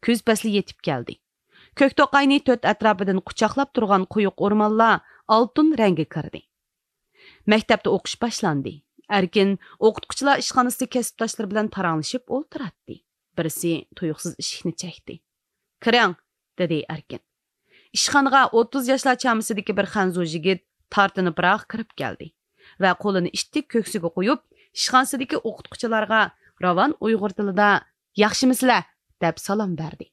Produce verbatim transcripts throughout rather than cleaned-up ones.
كۈز پەسلى يېتىپ كەلدى. كۆك توقاينى تۆت ئەتراپىدىن قۇچاقلاپ تۇرغان قويۇق ئورمانلار ئالتۇن رەڭگە كىردى. مەكتەپتە ئوقۇش باشلاندى. ئەركىن ئوقۇتقۇچىلار ئىشخانىسىدا كەسىپداشلىرى بىلەن پاراڭلىشىپ ئولتۇراتتى. بىرسى تۇيۇقسىز ئىشىكنى چەكتى. «كىرىڭ!» دېدى ئەركىن. ئىشخانىغا ئوتتۇز ياشلار چامىسىدىكى بىر خەنزۇ يىگىت تارتىنىپراق كىرىپ كەلدى ۋە قولىنى ئىتتىك كۆكسىگە قويۇپ، ئىشخانىسىدىكى ئوقۇتقۇچىلارغا راۋان ئۇيغۇر تىلىدا «ياخشىمۇسىلەر؟» دەپ سالام بەردى.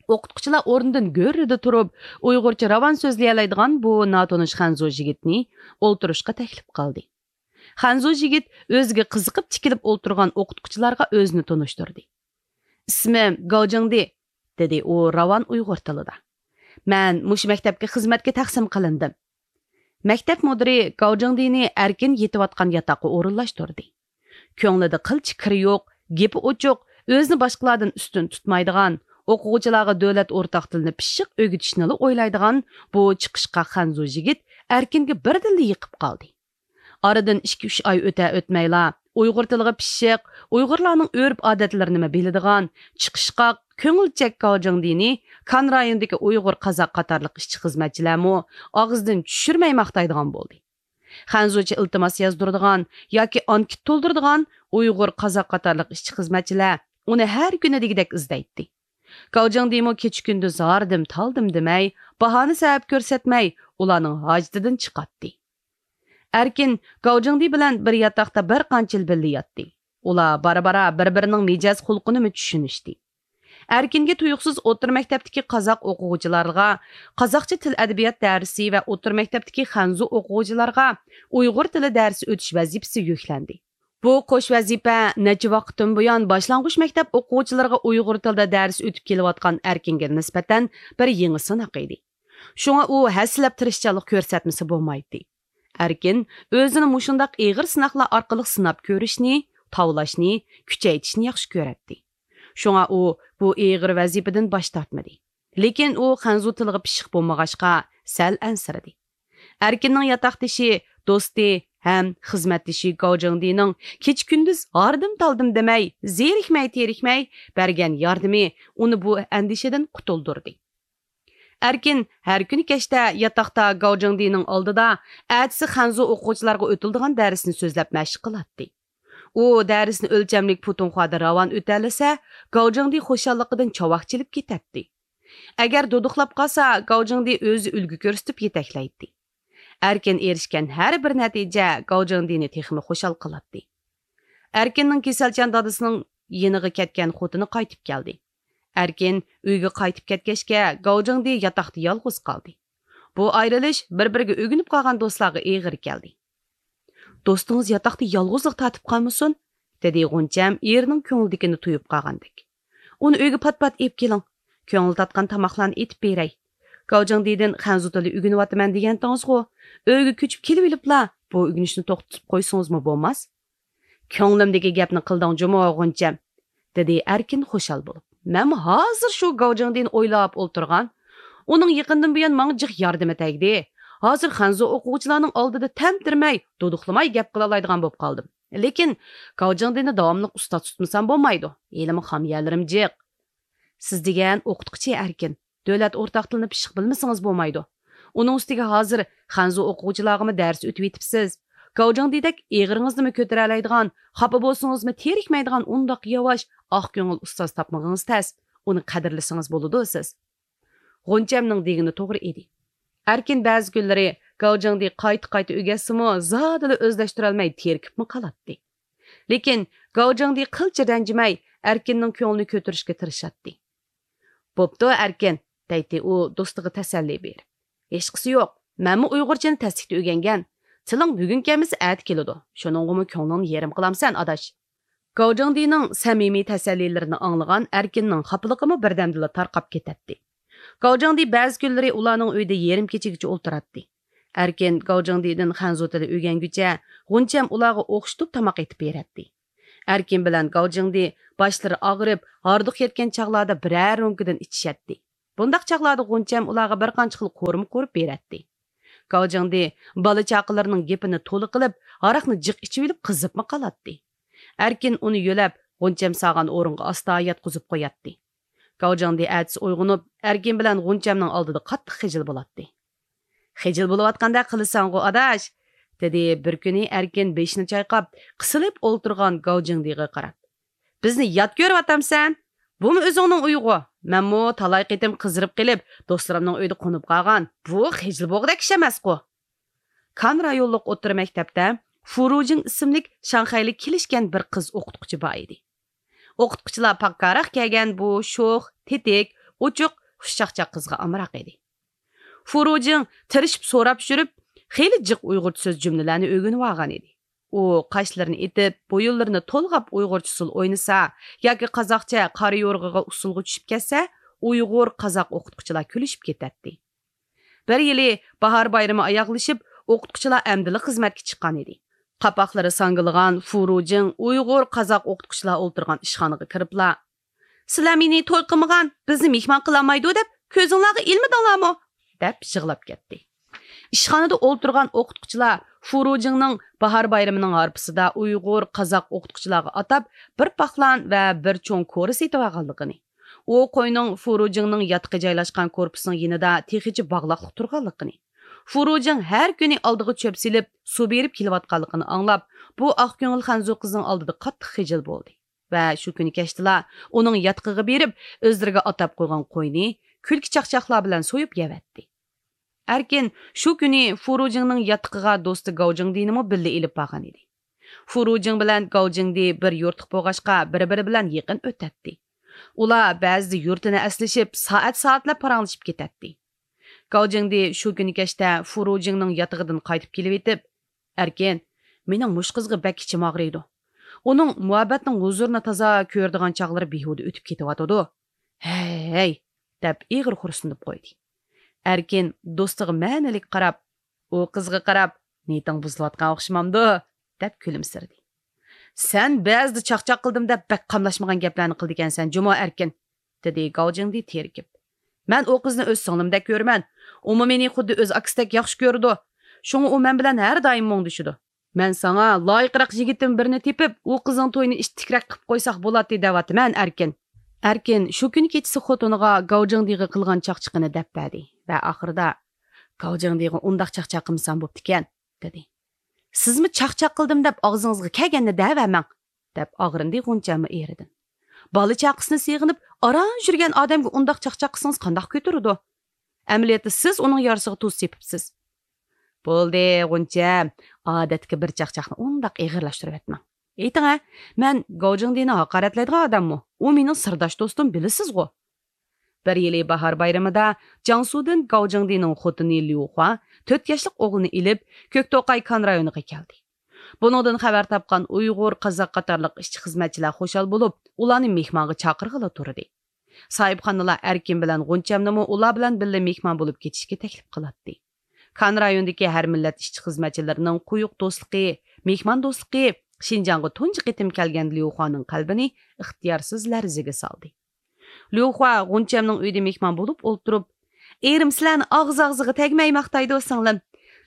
ئوقۇتقۇچىلار ئورنىدىن گۈررىدە تۇرۇپ، ئۇيغۇرچە راۋان سۆزلىيەلەيدىغان بۇ ناتونۇش خەنزۇ يىگىتنى ئولتۇرۇشقا تەكلىپ قىلدى. خەنزۇ يىگىت ئۆزىگە قىزىقىپ تىكىلىپ ئولتۇرغان ئوقۇتقۇچىلارغا ئۆزىنى تونۇشتۇردى. «ئىسمىم گاۋجىڭدى»، دېدى ئۇ راۋان ئۇيغۇر تىلىدا. «مەن مۇشۇ مەكتەپكە خىزمەتكە تەقسىم قىلىندىم.» مەكتەپ مۇدىرى گاۋجىڭدىنى ئەركىن يېتىۋاتقان ياتاققا ئورۇنلاشتۇردى. كۆڭلىدە قىلچە كىرى يوق، گېپى ئوچۇق، ئۆزىنى باشقىلاردىن ئۈستۈن تۇتمايدىغان، ئوقۇغۇچىلارغا دۆلەت ئورتاق تىلىنى پىششىق ئۆگىتىشنىلا ئويلايدىغان بۇ چىقىشقاق خەنزۇ يىگىت ئەركىنگە بىردىنلا يېقىپ قالدى. ئارىدىن ئىككى-ئۈچ ئاي ئۆتە-ئۆتمەيلا، ئۇيغۇر تىلىغا پىششىق، ئۇيغۇرلارنىڭ ئۆرپ-ئادەتلىرىنىمۇ بىلىدىغان، چىقىشقاق، كۆڭۈلچەك گاۋجىڭدىنى كان رايونىدىكى ئۇيغۇر، قازاق قاتارلىق ئىشچى-خىزمەتچىلەرمۇ ئاغزىدىن چۈشۈرمەي ماختايدىغان بولدى. خەنزۇچە ئىلتىماس يازدۇرىدىغان ياكى ئانكىت تولدۇرىدىغان ئۇيغۇر، قازاق قاتارلىق ئىشچى-خىزمەتچىلەر ئۇنى ھەر كۈنى دېگۈدەك ئىزدەيتتى. گاۋجىڭدىمۇ كېچە-كۈندۈز ھاردىم-تالدىم دېمەي، باھانە-سەۋەب كۆرسەتمەي، ئۇلارنىڭ ھاجىتىدىن چىقاتتى. ئەركىن گاۋجىڭدى بىلەن بىر ياتاقتا بىر قانچە يىل بىللە ياتتى. ئۇلار بارا-بارا بىر-بىرىنىڭ مىجەز-خۇلقىنىمۇ چۈشىنىشتى. ئەركىنگە تۇيۇقسىز ئوتتۇرا مەكتەپتىكى قازاق ئوقۇغۇچىلارغا قازاقچە تىل-ئەدەبىيات دەرسى ۋە ئوتتۇرا مەكتەپتىكى خەنزۇ ئوقۇغۇچىلارغا ئۇيغۇر تىلى دەرسى ئۆتۈش ۋەزىپىسى يۈكلەندى. بۇ قوش ۋەزىپە نەچچە ۋاقىتتىن بۇيان باشلانغۇچ مەكتەپ ئوقۇغۇچىلىرىغا ئۇيغۇر تىلىدا دەرس ئۆتۈپ كېلىۋاتقان ئەركىنگە نىسبەتەن بىر يېڭى سىناق ئىدى. شۇڭا ئۇ ھەسسىلەپ تىرىشچانلىق كۆرسەتمىسە بولمايتتى. ئەركىن ئۆزىنى مۇشۇنداق ئېغىر سىناقلار ئارقىلىق سىناپ كۆرۈشنى، تاۋلاشنى، كۈچەيتىشنى ياخشى كۆرەتتى. شۇڭا ئۇ بۇ ئېغىر ۋەزىپىدىن باش تارتمىدى. لېكىن ئۇ خەنزۇ تىلىغا پىششىق بولمىغاچقا، سەل ئەنسىرىدى. ئەركىننىڭ ياتاقدىشى، دوستى ھەم خىزمەتدىشى گاۋجىڭدىنىڭ كېچە-كۈندۈز ھاردىم-تالدىم دېمەي، زېرىكمەي-تېرىكمەي بەرگەن ياردىمى ئۇنى بۇ ئەندىشىدىن قۇتۇلدۇردى. ئەركىن ھەر كۈنى كەچتە ياتاقتا گاۋجىڭدىنىڭ ئالدىدا ئەتىسى خەنزۇ ئوقۇغۇچىلارغا ئۆتۈلىدىغان دەرسنى سۆزلەپ مەشىق قىلاتتى. ئۇ دەرسنى ئۆلچەملىك پۇتۇڭخۇادا راۋان ئۆتەلىسە، گاۋجىڭدى خۇشاللىقىدىن چاۋاك چېلىپ كېتەتتى. ئەگەر دۇدۇقلاپ قالسا، گاۋجىڭدى ئۆزى ئۈلگە كۆرسىتىپ يېتەكلەيتتى. ئەركىن ئېرىشكەن ھەر بىر نەتىجە گاۋجىڭدىنى تېخىمۇ خۇشال قىلاتتى. ئەركىننىڭ كېسەلچان دادىسىنىڭ يېنىغا كەتكەن خوتۇنى قايتىپ كەلدى. ئەركىن ئۆيگە قايتىپ كەتكەچكە، گاۋجىڭدى ياتاقتا يالغۇز قالدى. بۇ ئايرىلىش بىر-بىرىگە ئۆگىنىپ قالغان دوستلارغا ئېغىر كەلدى. «دوستىڭىز ياتاقتا يالغۇزلۇق تارتىپ قالمىسۇن؟» دېدى غۇنچەم ئېرىنىڭ كۆڭلىدىكىنى تۇيۇپ قالغاندەك. «ئۇنى ئۆيگە پات-پات ئېلىپ كېلىڭ. كۆڭلى تارتقان تاماقلارنى ئېتىپ بېرەي. گاۋجىڭدىدىن خەنزۇ تىلى ئۆگىنىۋاتىمەن دېگەنتىڭىزغۇ؟ ئۆيگە كۆچۈپ كېلىۋېلىپلا بۇ ئۆگىنىشنى توختىتىپ قويسىڭىزمۇ بولماس؟» «كۆڭلۈمدىكى گەپنى قىلدىڭ جۇمۇ، غۇنچەم»، دېدى ئەركىن خۇشال بولۇپ. «مەنمۇ ھازىر شۇ گاۋجىڭدىنى ئويلاپ ئولتۇرغان. ئۇنىڭ يېقىندىن بۇيان ماڭا جىق ياردىمى تەگدى. ھازىر خەنزۇ ئوقۇغۇچىلارنىڭ ئالدىدا تەمتىرىمەي، دۇدۇقلىماي گەپ قىلالايدىغان بولۇپ قالدىم. لېكىن گاۋجىڭدىنى داۋاملىق ئۇستاز تۇتمىسام بولمايدۇ. ھېلىمۇ خام يەرلىرىم جىق.» «سىز دېگەن ئوقۇتقۇچى ئەركىن. دۆلەت ئورتاق تىلىنى پىششىق بىلمىسىڭىز بولمايدۇ. ئۇنىڭ ئۈستىگە ھازىر خەنزۇ ئوقۇغۇچىلارغىمۇ دەرس ئۆتۈۋېتىپسىز. گاۋجىڭدىدەك ئېغىرىڭىزنىمۇ كۆتۈرەلەيدىغان، خاپا بولسىڭىزمۇ تېرىكمەيدىغان ئۇنداق ياۋاش، ئاق كۆڭۈل ئۇستاز تاپمىغىڭىز تەس. ئۇنى قەدىرلىسىڭىز بولىدۇ سىز.» غۇنچەمنىڭ دېگىنى توغرا ئىدى. ئەركىن بەزى كۈنلىرى گاۋجىڭدى قايتا-قايتا ئۆگەتسىمۇ، زادىلا ئۆزلەشتۈرەلمەي تېرىكىپمۇ قالاتتى. لېكىن گاۋجىڭدى قىلچە رەنجىمەي، ئەركىننىڭ كۆڭلىنى كۆتۈرۈشكە تىرىشاتتى. «بوپتۇ، ئەركىن»، دەيتتى ئۇ دوستىغا تەسەللى بېرىپ. «ھېچقىسى يوق، مەنمۇ ئۇيغۇرچىنى تەسلىكتە ئۆگەنگەن. تىلىڭ بۈگۈن كەلمىسە ئەتە كېلىدۇ، شۇنىڭغىمۇ كۆڭلۈڭنى يېرىم قىلامسەن، ئاداش.» گاۋجىڭدىنىڭ سەمىمىي تەسەللىلىرىنى ئاڭلىغان ئەركىننىڭ خاپىلىقىمۇ بىردەمدىلا تارقاپ كېتەتتى. گاۋجىڭدى بەزى كۈنلىرى ئۇلارنىڭ ئۆيىدە يېرىم كېچىگىچە ئولتۇراتتى. ئەركىن گاۋجىڭدىدىن خەنزۇ تىلى ئۆگەنگۈچە، غۇنچەم ئۇلارغا ئوخشىتىپ تاماق ئېتىپ بېرەتتى. ئەركىن بىلەن گاۋجىڭدى باشلىرى ئاغرىپ، ھاردۇق يەتكەن چاغلاردا بىرەر رومكىدىن ئىچىشەتتى. بۇنداق چاغلاردا غۇنچەم ئۇلارغا بىر قانچە خىل قورۇما قورۇپ بېرەتتى. گاۋجىڭدى بالا-چاقىلىرىنىڭ گېپىنى تولا قىلىپ، ھاراقنى جىق ئىچىۋېلىپ قىزىپمۇ قالاتتى. ئەركىن ئۇنى يۆلەپ، غۇنچەم سالغان ئورۇنغا ئاستا ياتقۇزۇپ قوياتتى. گاۋجىڭدى ئەتىسى ئويغىنىپ، ئەركىن بىلەن غۇنچەمنىڭ ئالدىدا قاتتىق خىجىل بولاتتى. «خىجىل بولۇۋاتقاندەك قىلىسەنغۇ، ئاداش!» دېدى بىر كۈنى ئەركىن بېشىنى چايقاپ، قىسىلىپ ئولتۇرغان گاۋجىڭدىغا قاراپ. «بىزنى يات كۆرۈۋاتامسەن؟ بۇمۇ ئۆزۈڭنىڭ ئۆيىغۇ. مەنمۇ تالاي قېتىم قىزىرىپ قېلىپ، دوستلىرىمنىڭ ئۆيىدە قونۇپ قالغان. بۇ خىجىل بولغۇدەك ئىش ئەمەسقۇ!» كان رايونلۇق ئوتتۇرا مەكتەپتە فۇرۇجىڭ ئىسىملىك شاڭخەيلىك كېلىشكەن بىر قىز ئوقۇتقۇچى بار ئىدى. ئوقۇتقۇچىلار پاككاراق كەلگەن بۇ شوخ، تېتىك، ئوچۇق، خۇشچاقچاق قىزغا ئامراق ئىدى. فۇرۇجىڭ تىرىشىپ سوراپ يۈرۈپ، خېلى جىق ئۇيغۇرچە سۆز جۈملىلەرنى ئۆگىنىۋالغان ئىدى. ئۇ قاشلىرىنى ئېتىپ، بويۇنلىرىنى تولغاپ ئۇيغۇرچە ئۇسسۇل ئوينىسا ياكى قازاقچە قارا يورغىغا ئۇسسۇلغا چۈشۈپ كەتسە، ئۇيغۇر، قازاق ئوقۇتقۇچىلار كۈلۈشۈپ كېتەتتى. بىر يىلى باھار بايرىمى ئاياغلىشىپ، ئوقۇتقۇچىلار ئەمدىلا خىزمەتكە چىققان ئىدى. قاپاقلىرى ساڭگىلىغان فۇرۇجىڭ ئۇيغۇر، قازاق ئوقۇتقۇچىلار ئولتۇرغان ئىشخانىغا كىرىپلا، «سىلەر مېنى توي قىلمىغان، بىزنى مېھمان قىلالمايدۇ دەپ كۆزۈڭلارغا ئىلمىدىڭلارمۇ؟» دەپ يىغلاپ كەتتى. ئىشخانىدا ئولتۇرغان ئوقۇتقۇچىلار فۇرۇجىڭنىڭ باھار بايرىمىنىڭ ھارپىسىدا ئۇيغۇر، قازاق ئوقۇتقۇچىلارغا ئاتاپ بىر پاقلان ۋە بىر چوڭ كورا سېتىۋالغانلىقىنى، ئۇ قوينىڭ فۇرۇجىڭنىڭ ياتىقى جايلاشقان كورپۇسنىڭ يېنىدا تېخىچە باغلاقلىق تۇرغانلىقىنى، فۇرۇجىڭ ھەر كۈنى ئالدىغا چۆپ سېلىپ، سۇ بېرىپ كېلىۋاتقانلىقىنى ئاڭلاپ، بۇ ئاق كۆڭۈل خەنزۇ قىزنىڭ ئالدىدا قاتتىق خىجىل بولدى ۋە شۇ كۈنى كەچتىلا ئۇنىڭ ياتىقىغا بېرىپ، ئۆزلىرىگە ئاتاپ قويغان قوينى كۈلكە چاقچاقلار بىلەن سويۇپ يەۋەتتى. ئەركىن شۇ كۈنى فۇرۇجىڭنىڭ ياتىقىغا دوستى گاۋجىڭدىنىمۇ بىللە ئېلىپ بارغان ئىدى. فۇرۇجىڭ بىلەن گاۋجىڭدى بىر يۇرتلۇق بولغاچقا، بىر-بىرى بىلەن يېقىن ئۆتەتتى. ئۇلار بەزىدە يۇرتىنى ئەسلىشىپ، سائەت-سائەتلەپ پاراڭلىشىپ كېتەتتى. گاۋجىڭدى شۇ كۈنى كەچتە فۇرۇجىڭنىڭ ياتىقىدىن قايتىپ كېلىۋېتىپ، «ئەركىن، مېنىڭ مۇشۇ قىزغا بەك ئىچىم ئاغرىيدۇ. ئۇنىڭ مۇھەببەتنىڭ ھۇزۇرىنى تازا كۆرىدىغان چاغلىرى بىھۇدە ئۆتۈپ كېتىۋاتىدۇ. ھەي، ھەي!» دەپ ئېغىر خورسىنىپ قويدى. ئەركىن دوستىغا مەنىلىك قاراپ، ئۇ قىزغا قاراپ، «نىيىتىڭ بۇزۇلۇۋاتقان ئوخشىمامدۇ؟» دەپ كۈلۈمسىرىدى. «سەن بەزىدە چاقچاق قىلدىم دەپ بەك قاملاشمىغان گەپلەرنى قىلىدىكەنسەن جۇمۇ، ئەركىن!» دېدى گاۋجىڭدى تېرىكىپ. «مەن ئۇ قىزنى ئۆز سىڭلىمدەك كۆرىمەن. ئۇمۇ مېنى خۇددى ئۆز ئاكىسىدەك ياخشى كۆرىدۇ. شۇڭا ئۇ مەن بىلەن ھەر دائىم مۇڭدىشىدۇ. مەن ساڭا لايىقراق يىگىتتىن بىرنى تېپىپ، ئۇ قىزنىڭ تويىنى ئىتتىكرەك قىلىپ قويساق بولاتتى دەۋاتىمەن، ئەركىن.» ئەركىن شۇ كۈنى كېچىسى خوتۇنىغا گاۋجىڭدىغا قىلغان چاقچىقىنى دەپ بەردى ۋە ئاخىرىدا، «گاۋجىڭدىغا ئۇنداق چاقچاق قىلمىسام بوپتىكەن» دېدى. «سىزمۇ چاقچاق قىلدىم دەپ ئاغزىڭىزغا كەلگەننى دەۋەرمەڭ» دەپ ئاغرىندى غۇنچەممۇ ئېرىدىن. «بالا چاقىسىنى سېغىنىپ ئاران يۈرگەن ئادەمگە ئۇنداق چاقچاق قىلسىڭىز قانداق كۆتۈرىدۇ؟ ئەمەلىيەتتە سىز ئۇنىڭ يارىسىغا تۇز سېپىپسىز.» «بولدى، غۇنچەم، ئادەتتىكى بىر چاقچاقنى ئۇنداق ئېغىرلاشتۇرۇۋەتمەڭ. ئېيتىڭ ھە، مەن گاۋجىڭدىنى ھاقارەتلەيدىغان ئادەممۇ؟ ئۇ مېنىڭ سىرداش دوستۇم، بىلىسىزغۇ.» بىر يىلى باھار بايرىمىدا جياڭسۇدىن گاۋجىڭدىنىڭ خوتۇنى ليۇخۇا تۆت ياشلىق ئوغلىنى ئېلىپ، كۆكتوقاي كان رايونىغا كەلدى. بۇنىڭدىن خەۋەر تاپقان ئۇيغۇر، قازاق قاتارلىق ئىشچى-خىزمەتچىلەر خۇشال بولۇپ، ئۇلارنى مېھمانغا چاقىرغىلى تۇردى. ساھىبخانىلار ئەركىن بىلەن غۇنچەمنىمۇ ئۇلار بىلەن بىللە مېھمان بولۇپ كېتىشكە تەكلىپ قىلاتتى. كان رايونىدىكى ھەر مىللەت ئىشچى-خىزمەتچىلىرىنىڭ قويۇق دوستلۇقى، مېھمان دوستلۇقى شىنجاڭغا تۇنجى قېتىم كەلگەن ليۇخۇانىڭ قەلبىنى ئىختىيارسىز لەرزىگە سالدى. ليۇخۇا غۇنچەمنىڭ ئۆيىدە مېھمان بولۇپ ئولتۇرۇپ، «ئېرىم سىلەرنى ئاغزى-ئاغزىغا تەگمەي ماختايدۇ، سىڭلىم.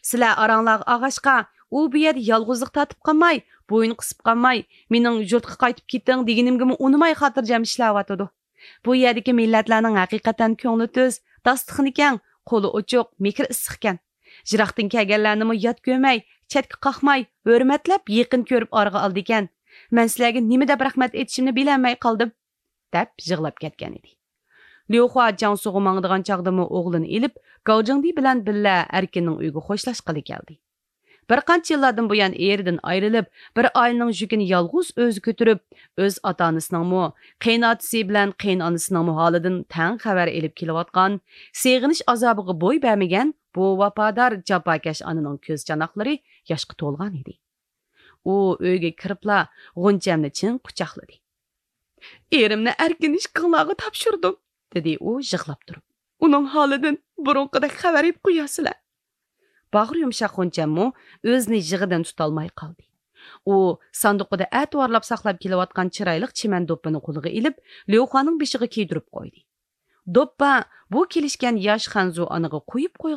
سىلەر ئاراڭلارغا ئالغاچقا، ئۇ بۇ يەردە يالغۇزلۇق تارتىپ قالماي، بويۇن قىسىپ قالماي، مېنىڭ يۇرتقا قايتىپ كېتىڭ دېگىنىمگىمۇ ئۇنىماي خاتىرجەم ئىشلەۋاتىدۇ. بۇ يەردىكى مىللەتلەرنىڭ ھەقىقەتەن كۆڭلى تۈز، داستىخىنى كەڭ، قولى ئوچۇق، مېھرى ئىسسىقكەن. يىراقتىن كەلگەنلەرنىمۇ يات كۆرمەي، چەتكە قاقماي، ھۆرمەتلەپ يېقىن كۆرۈپ ئارىغا ئالىدىكەن. مەن سىلەرگە نېمە دەپ رەھمەت ئېيتىشىمنى بىلەلمەي قالدىم.» دەپ يىغلاپ كەتكەن ئىدى. ليۇخۇا جياڭسۇغا ماڭىدىغان چاغدىمۇ ئوغلىنى ئېلىپ، گاۋجىڭدى بىلەن بىللە ئەركىننىڭ ئۆيىگە خوشلاشقىلى كەلدى. بىر قانچە يىللاردىن بۇيان ئېرىدىن ئايرىلىپ، بىر ئائىلىنىڭ يۈكىنى يالغۇز ئۆزى كۆتۈرۈپ، ئۆز ئاتا-ئانىسىنىڭمۇ، قېيىنئاتىسى بىلەن قېيىنئانىسىنىڭمۇ ھالىدىن تەڭ خەۋەر ئېلىپ كېلىۋاتقان، سېغىنىش ئازابىغا بوي بەرمىگەن بۇ ۋاپادار، جاپاكەش ئانىنىڭ كۆز چاناقلىرى ياشقا تولغان ئىدى. ئۇ ئۆيگە كىرىپلا غۇنچەمنى چىڭ قۇچاقلىدى. «ئېرىمنى ئەركىن ئىككىڭلارغا تاپشۇردۇم»، دېدى ئۇ يىغلاپ تۇرۇپ. «ئۇنىڭ ھالىدىن بۇرۇنقىدەك خەۋەر ئېلىپ قويارسىلەر.» باغرى يۇمشاق غۇنچەممۇ ئۆزىنى يىغىدىن تۇتالماي قالدى. ئۇ ساندۇقىدا ئەتىۋارلاپ ساقلاپ كېلىۋاتقان چىرايلىق چىمەن دوپپىنى قولىغا ئېلىپ، ليۇخۇانىڭ بېشىغا كىيدۈرۈپ قويدى. دوپپا بۇ كېلىشكەن ياش خەنزۇ ئانىغا قويۇپ قويغان